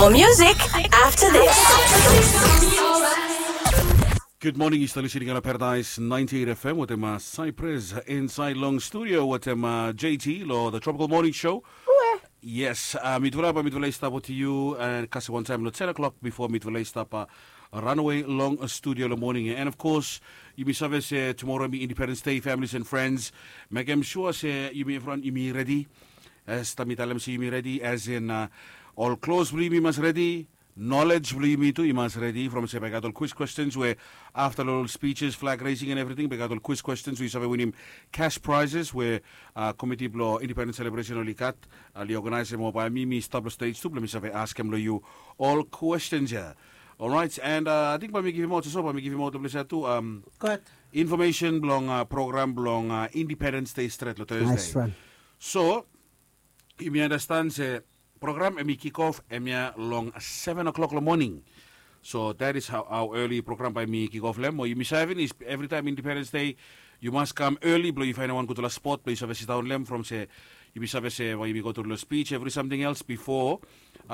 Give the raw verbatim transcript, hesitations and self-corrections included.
Music after this. Good morning, yu stap listening on Paradise ninety-eight F M wetem uh, Cypress inside long studio wetem uh, J T lo the Tropical Morning Show. Yes, uh, mitufala ba mitufala i stap wetem yu and kasi wan taem lo ten o'clock before mitufala i stap uh, runaway long uh, studio lo morning. And of course, yumi save se tomorrow mi Independence Day, families and friends. Mekem sure se yumi everyone yumi ready. As taem mi talem se yumi ready, as in uh, ol klos blo yumi mas ready. Knowledge blo yumi tu i mas ready from se bae gat ol quiz questions we after ol speeches, flag raising and everything, bae gat ol quiz questions we yu save winim cash prizes we uh, committee blo independence celebration oli gat. Uh, oli organizem mo bae mi mi stap lo stage tu blo mi save askem lo yu ol questions ya. Alright, and uh, I think bae mi givim out so bae mi givim out lo ples ya tu. Um, Good. Information blong uh, program blong uh, Independence Day stret lo Thursday. Nice one. So, yumi understand se program em i kick off em ya long seven o'clock lo morning. So that is how, how early program bae mi kick off lem. Mo yumi save ni every time Independence Day, you must come early blo yu faenem wan gutfala spot blo yu save sidaon lem from se yumi save se bae yumi go tru lo speech, every something else before